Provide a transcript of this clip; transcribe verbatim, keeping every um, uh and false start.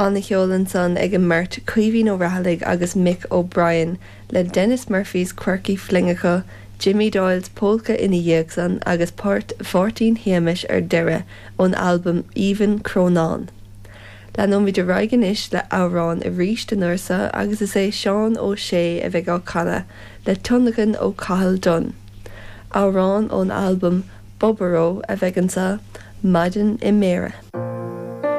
An-cheol ansan ag an mbeirt Caoimhín Ó Raghallaigh agus Mick O'Brien le Denis Murphy's Quirky Flingeacha, Jimmy Doyle's Polka ina dhiaidh san agus port Mháirtín Shéamais ar deireadh ón albam Aoibhinn Crónán. Leanfaimid ar aghaidh anois le amhrán arís an uair seo agus is é Seán Ó Sé a bheidh á chanadh le tionlacan ó Cathal Dunn. Amhrán ón albam Bobaró a bheidh anseo Maidin i mBéarra.